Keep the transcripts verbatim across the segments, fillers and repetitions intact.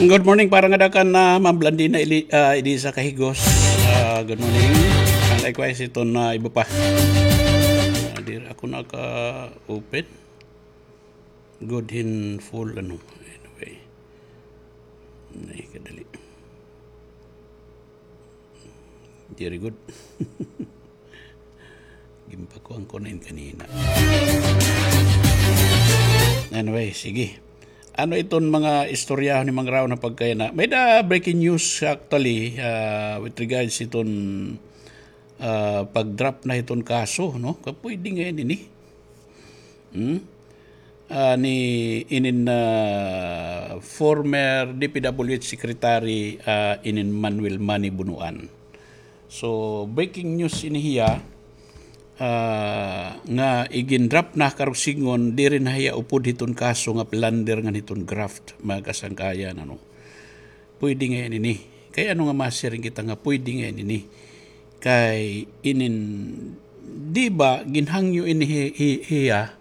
Good morning, para ngada kan, ah, Ma'am Blandina Eli-, ah, Elisa Kahigos. Ah, good morning. And likewise, iton na iba pa. Ah, diri ako naka-open. Good hin full, ano. Anyway. Ay, kadali. Diri gud. Ginpakuan ko na in kanina. Anyway, sige. Ano iton mga istorya ni Mang Rao na pagkaya na? May da breaking news actually, ah, with regards iton, ah, pag-drop na iton kaso, no? Kapwede nga ini. Hmm? Ah, ni inin, ah, former D P W H secretary, ah, inin Manuel Manny Bunuan. So, breaking news ini hiya, ah, nga igin-drop na karuyag sidngon, diri na hiya upod hiton kaso nga plunder ngan hiton graft, mga kasangkayan, ano. Pwede ngay-an ini. Kay ano nga masiring kita nga pwede ngay-an ini? Kay inin, di ba, ginhangyo ini hi-, hi-, hiya,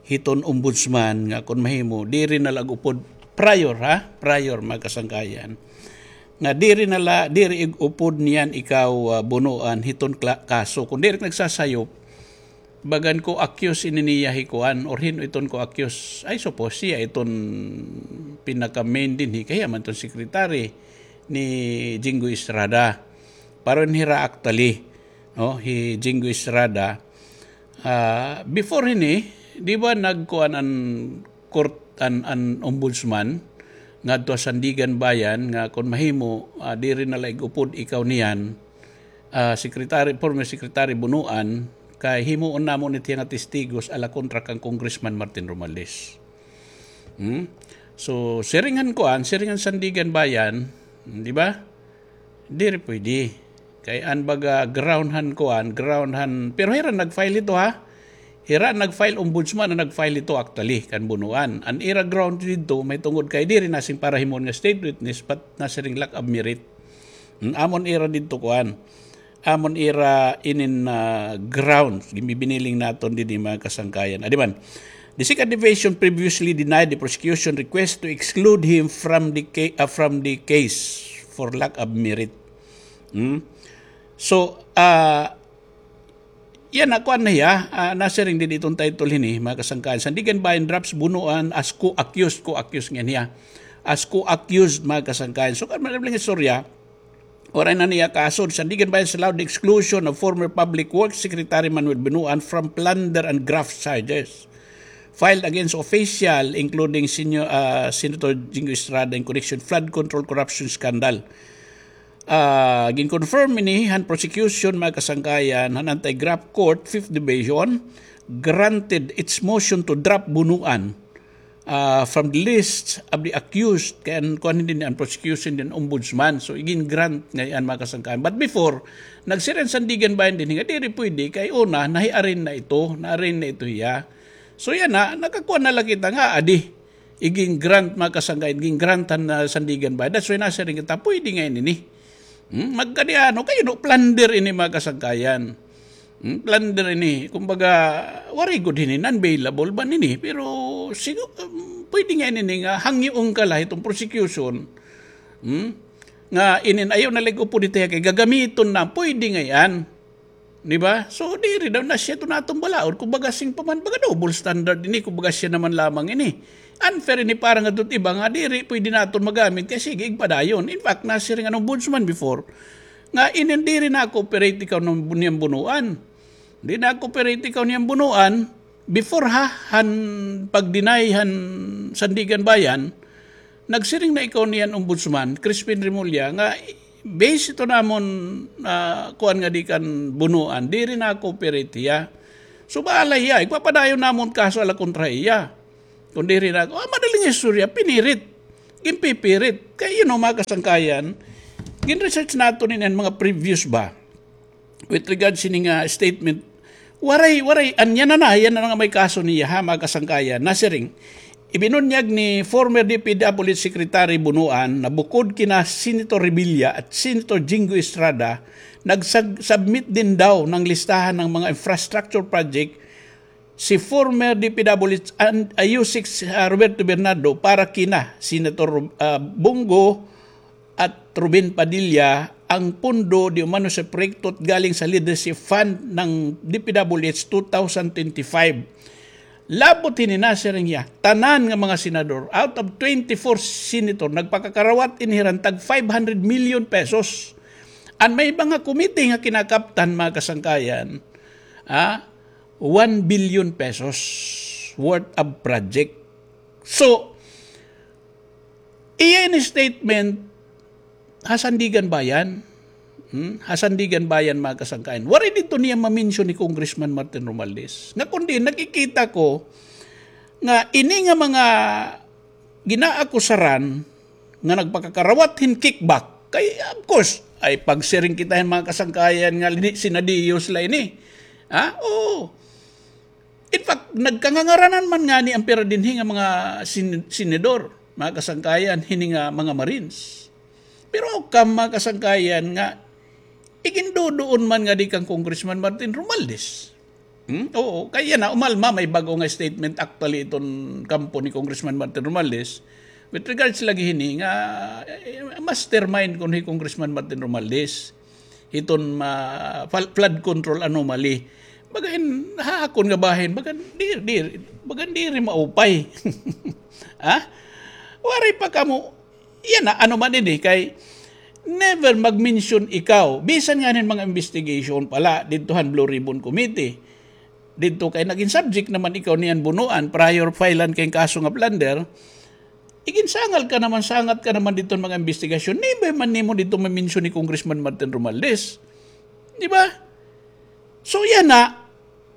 hiton ombudsman nga kon mahimo, diri na la ig-upod prior, ha? Prior, mga kasangkayan. Nga diri na la, diri ig-upod niyan ikaw, ah, Bunuan, hiton kla-, kaso. Kon diri nagsasayop, bagan co-accused ini niya hi kuan, or hin-o iton co-accused? I suppose siya iton pinaka-main dinhi, kay hiya man iton secretary ni Jinggoy Estrada. Pareho hira actually, no, hi Jinggoy Estrada. Ah, before hini, di ba nagkuan an court, an, an ombudsman ngadto ha Sandiganbayan nga kon mahimo, ah, diri na la ig-upod ikaw niyan, ah, Secretary, former Secretary Bunuan, kay himuon namon it hiya nga testigos ala kontra kan Congressman Martin Romualdez. Hmm? So, siring han kuan, siring han Sandiganbayan, di ba? Diri pwede. Kay an baga ground han kuan, ground han, pero hira nag-file hito, ha? Hira nag-file, ombudsman an nag-file hito actually, kan Bunuan. An ira ground didto, mahitungod kay diri nasiring para himuon nga state witness, but nasiring lack of merit. Hmm, amon ira didto kuan. Amon ira inin, ah, grounds, ginbibiniling naton dinhi, mga kasangkayan. Adi man, the Second Division previously denied the prosecution request to exclude him from the ca-, ah, from the case for lack of merit. Hmm? So, ah, yana, kuan na hiya, ah, nasiring dinhi iton title hini, mga kasangkayan. Sandiganbayan drops Bunuan as co-accused, co-accused ngay-an hiya. As co-accused, mga kasangkayan. So, kan madaling istorya, waray na niya kaso, Sandiganbayan allowed the exclusion of former Public Works Secretary Manuel Bunuan from plunder and graft charges filed against official, including senior, ah, Senator Jinggoy Estrada in connection flood control corruption scandal. Ah, gin-confirm ini han prosecution, mga kasangkayan, han Anti-Graft Court, Fifth Division, granted its motion to drop Bunuan, ah, from the list of the accused, kay an, kuan dinhi, an prosecution dinhi, ombudsman. So, igin-grant ngay-an, mga kasangkayan. But before, nagsiring an Sandiganbayan dinhi nga diri pwede, kay una, nahiarin na ito, naarin na ito hiya. So, yana, nakakuan na la kita nga, adi, igin-grant, mga kasangkayan, igin-grant han, ah, Sandiganbayan. That's why nasiring kita, pwede ngay-an ini. Hmm? Magkadi-ano, kay, no, plunder ini, mga kasangkayan. Hmm? Plunder ini. Kumbaga, waray gud hini, non-bailable man ini. Pero, sigu-, um, pwede ngay-an ini nga hangyoon ka la hiton prosecution. Hmm? Nga inin ayaw na la ig-upod hito hiya kay gagamiton na, pwede ngay-an. Di ba? So, diri daw na siya ito naton balaod. Kumbaga, sing pa man, baga double standard ini. Kumbaga, siya naman lamang ini. Unfair ini para ngadto ha iba nga diri pwede naton magamit kay sige, igpadayon. In fact, nasiring an ombudsman before, nga inin diri na-cooperate ikaw niyan Bunuan. Di na-cooperate ikaw niyan Bunuan. Before ha, han pag-deny han Sandiganbayan, nagsiring na ikaw niyan Ombudsman, Crispin Remulla, nga base ito namon, ah, kuan nga di kan Bunuan, diri na-cooperate hiya. So, bahala hiya, igpapadayon namon kaso ala kontra hiya. Kon diri na, ah, madaling istorya, pinirit. Ginpipirit. Kay, you know, mga kasangkayan, gin-research naton ini an mga previous ba? With regards sini nga statement, waray, waray, an yana na, yana na nga may kaso niya, ha, mga kasangkayan. Nasiring, ibinunyag ni former D P W H Secretary Bunuan na bukod kina Senator Revilla at Senator Jinggoy Estrada, nagsag-, submit din daw ng listahan ng mga infrastructure project si former D P W H and, ah, U six, ah, Roberto Bernardo para kina Senator, ah, Bong Go at Robin Padilla ang pondo di umano sa proyekto galing sa Leadership Fund ng D P W H two thousand twenty-five. Labot hini, nasiring hiya, tanan nga mga senador, out of twenty-four senator, nagpakakarawat ini hiran tag five hundred million pesos. An may mga komite nga kinakaptan, mga kasangkayan, ah, one billion pesos worth of project. So, iya ini statement ha Sandiganbayan. Hmm? Ha Sandiganbayan, mga kasangkayan. Waray didto niya ma-mention ni Congressman Martin Romualdez. Nga kundi nakikita ko nga ini nga mga ginaakusaran nga nagpakakarawat hin kickback. Kay, of course, ay pagsiring kita hin mga kasangkayan nga lini-, sinadiyos la ini. Ha? Oo. In fact, nagkangangaranan man ngani an pira dinhi nga mga sin-, senador, mga kasangkayan, hini nga mga Marines. Pero how come, mga kasangkayan, nga iginduduon man ngadi kan Congressman Martin Romualdez? Hmm? Oo, kay yana, umalma may bag-o nga statement actually iton kampo ni Congressman Martin Romualdez with regards lagi hini nga, eh, mastermind kuno hi Congressman Martin Romualdez hiton ma-, fal-, flood control anomaly. Baga hin, ha akon nga bahin, baga diri, diri, baga diri maupay. Ha? Waray pa kamo, yana, ano man ini, kay never mag-mention ikaw. Bisan nga hin mga investigation pala, didto han Blue Ribbon Committee. Didto kay nagin subject naman ikaw niyan bunuan, prior filean kay kaso nga plunder. Iginsangal ka naman, sangat ka naman didto mga investigasyon. Never man nimo didto ma-mention ni Congressman Martin Romualdez. Di ba? So, yana,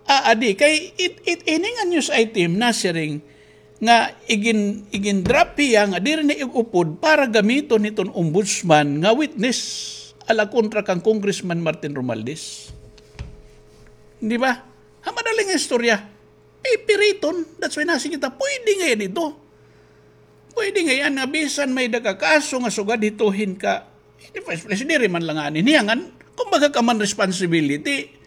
aadi, kay it, it, ini nga news item nasiring nga igin-, igin-drop hiya nga diri na ig-upod para gamiton hiton ombudsman nga witness ala kontra kan Congressman Martin Romualdez. Di ba? Ha madaling istorya, pipiriton. That's why nasiring kita, pwede ngay-an ito. Pwede ngay-an nga bisan may-ada ka kaso nga sugad hito hin ka, in the first place, diri man la ngani niya ngan, kumbaga common responsibility.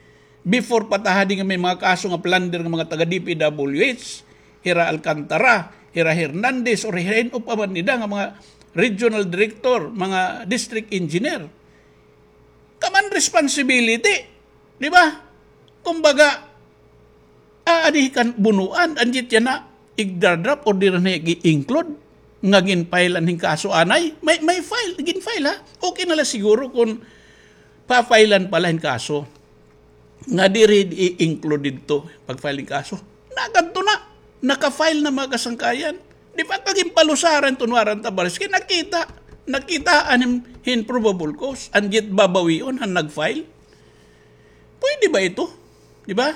Before pa ta hadi nga may mga kaso nga plunder nga mga taga D P W H, hira Alcantara, hira Hernandez, or hira hin-o pa man nida nga mga regional director, mga district engineer. Common responsibility. Di ba? Kumbaga, aadi kan bunuan, anjit yana, igdadrop or diri na i-include, nga gin-filean hin kaso anay, may, may file, gin-file ha. Okay na la siguro kun pa-filean pala hin kaso. Nga diri i-include didto, pag-file hin kaso. Nakadto na, naka-file na mga kasangkayan. Di ba, kaginpalusaran ton warrant of arrest, kay nakita, nakita an hin, hin probable cause, anjit babawion han nag-file. Pwede ba ito? Di ba?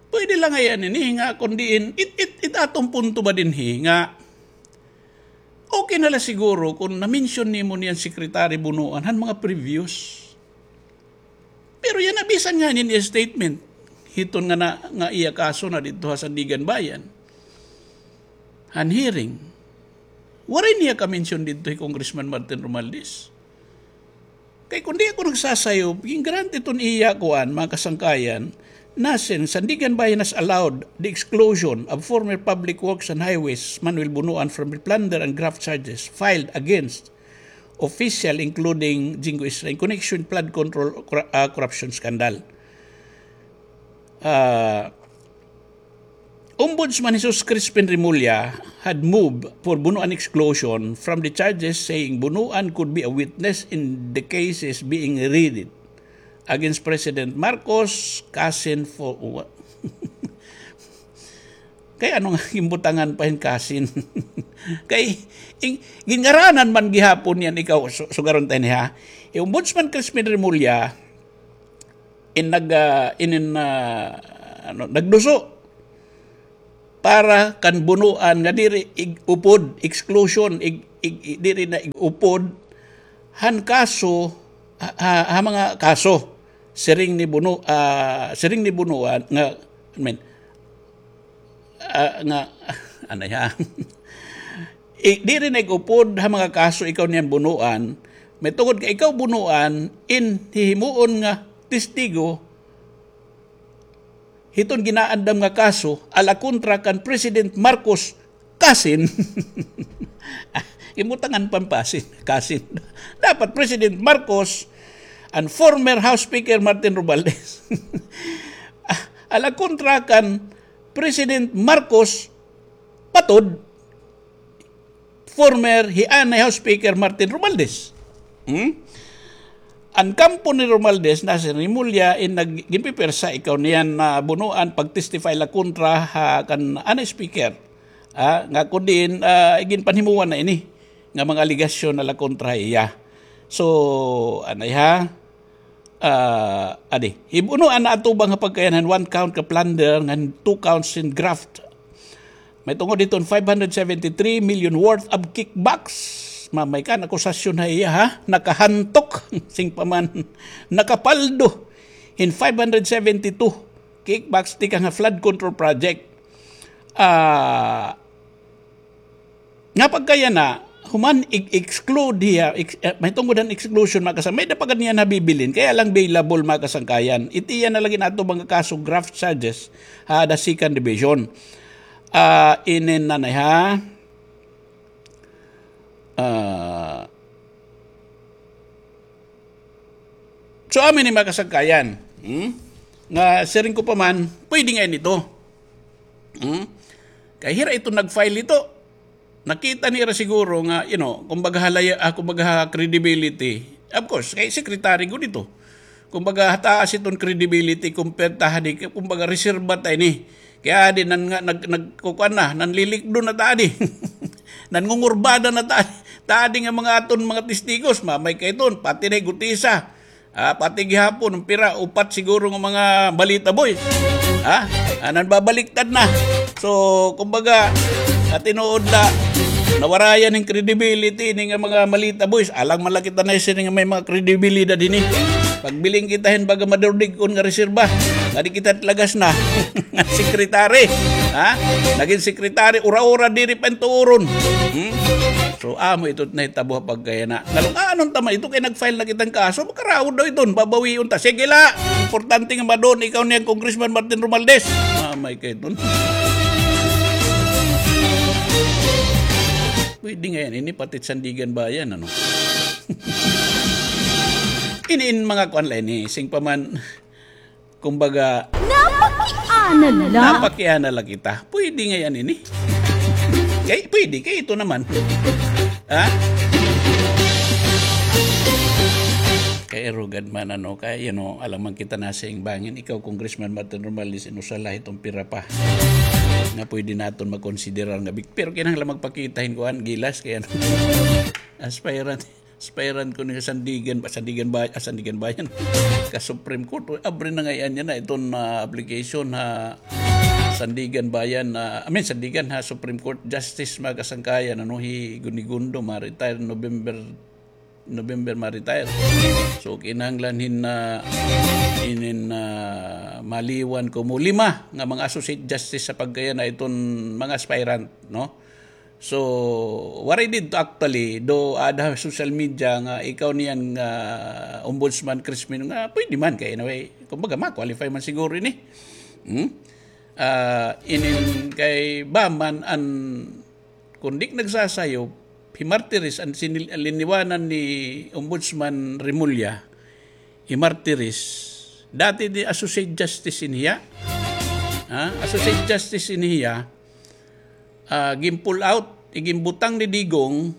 Pwede la ngay-an ini nga kun diin, it, it, it aton punto ba dinhi nga okay na la siguro kun na-mention nimo niyan Secretary Bunuan han mga previous. Pero yana bisan ngani iya statement hiton nga na, nga iya kaso na didto ha Sandiganbayan. Han hearing, waray niya ka-mention didto hi Congressman Martin Romualdez. Kay kun di ako nagsasayop, gin-grant iton iya kuan, mga kasangkayan, nasiring, Sandiganbayan has allowed the exclusion of former Public Works and Highways Manuel Bunuan from the plunder and graft charges filed against official, including Jinggoy Estrada, in connection with flood control cor-, ah, corruption scandal. Ah, Ombudsman Jesus Crispin Remulla had moved for Bunuan exclusion from the charges, saying Bunuan could be a witness in the cases being read against President Marcos, Casin for what? Kay ano nga ginbutangan pa hin Casin? Kay, in, ginngaranan man gihapon niyan ikaw, su-, sugaron ta ini ha. Hi Ombudsman Crispin Remulla, in nag, ah, in, in, ah, ano, nagduso para kan Bunuan nga diri ig-upod, exclusion, ig-, ig-, ig-, diri na ig-upod han kaso, ha, ha, ha mga kaso. Siring ni Bunu-, ah, siring ni Bunuan nga, I mean, ah, nga, ano ya? I-, diri na ig-upod ha mga kaso ikaw niyan Bunuan, may tungod ka ikaw Bunuan, in hihimuon nga testigo, hiton ginaandam nga kaso ala kontra kan President Marcos cousin. Imutangan pampasin, cousin. Dapat President Marcos and former House Speaker Martin Romualdez. Ala kontra kan President Marcos, patod, former hi anay House Speaker Martin Romualdez. Hmm? An kampo ni Romualdez, na si Remulla, in nag-, ginpipersa ikaw niyan na bunuan pag-testify la kontra ha kan anay Speaker. Ah, nga kun diin, ah, iginpanhimuan na ini nga mga alegasyon na la kontra iya. So, anay ha, ah, adi, hibunuan na atubang ha pagkayan han one count ka plunder ngan two counts in graft. May tungod hiton five hundred seventy-three million worth of kickbacks. Mamay kan akusasyon ha iya, ha? Nakahantok, sing pa man, nakapaldo hin five hundred seventy-two kickbacks tikang ha flood control project. Ah, nga pagkayana, human i-, exclude hiya, ex-, eh, may tungod han exclusion, mga kasang-, may da pa gad niya nabibilin, kaya lang bailable, mga kasangkayan. Itiya na lagi nato mga kaso, graft charges, ha, the second division. Ah, inin na na, ha? Ah, So, amin ni mga kasangkayan. Hmm? Nga, siring ko pa man, pwede nga ini ito. Hmm? Kay hira ito nag-file ito. Nakita nira siguro nga, you know, kumbaga halaya, ah, kumbaga credibility. Of course, kay secretary ko dito. Kumbaga, hataas iton credibility, compared ta hadi, kumbaga, reserba ta ini. Kaya di nan nga, nag-, nagkukuan na, nanlilikdo na ta adi. Nangungurbada na ta adi. Ta adi nga mga aton mga testigos, mamay kay ton, pati na gutisa. Ah, pati gihapon, ang pira, upat siguro nga mga balita boys. Ha? Ah, nanbabaliktad na. So, kumbaga, sa tinuod na, nawarayan ng credibility ni nga mga malita boys. Alang malakita na sini nga may mga kredibilidad hini. Pagbiling kita hin baga madurdig kun nga reserba. Nga di kita talagas na. Secretary. Ha? Naging secretary, ura-ura, diri pa tuuron. Hmm? So, amo ito nahitabo ha pagkayana. Nalung, ah, anong tama ito? Kay nag-file na kitang kaso, makaraod daw iton, babawion ta. Sige la, importante nga madon, ikaw niyan, Congressman Martin Romualdez. Mamay kay iton. Pwede nga yan, ini pati Sandigan Bayan, ano? Ini in mga kuan la ini, sing pa man, kumbaga, napakiana la. Napakiana la kita. Pwede nga yan ini. Kay, pwede, kay ito naman. Ha? Kay arugad man, ano, kay, you know, alam man kita na sa bangin, ikaw, Congressman Martin Romualdez, inusala itong pira pa. Nga pwede naton makonsiderar nga big-, pero kinahanglan magpakita hin kuan, gilas, kay ano, aspirant. Aspirant ko ni Sandigan, Sandigan Bay-, ah, Sandigan Bayan. Ka Supreme Court, uy, abri na ngay-an niya na iton, ah, application ha Sandigan Bayan, ah, I mean, Sandigan ha Supreme Court Justice, mga kasangkayan, ano, hi Gunigundo, ma-retire November, November ma-retire. So, kinahanglan hin, ah, inin, ah, maliwan ko mo lima nga mga associate justice sa pagkayana iton mga aspirant, no? So, waray didto actually, do ada social media nga ikaw niyan nga Ombudsman Crispin nga pwede man kay anyway, kumbaga ma-qualify man siguro ini. Hmm? Ah, inin kay ba man an, kun di nagsasayo, hi Martires an sinil-, liniwanan ni Ombudsman Remulla, hi Martires, dati di Associate Justice in hiya. Ha? Associate Justice in hiya, ah, gin-pull out, iginbutang ni Digong,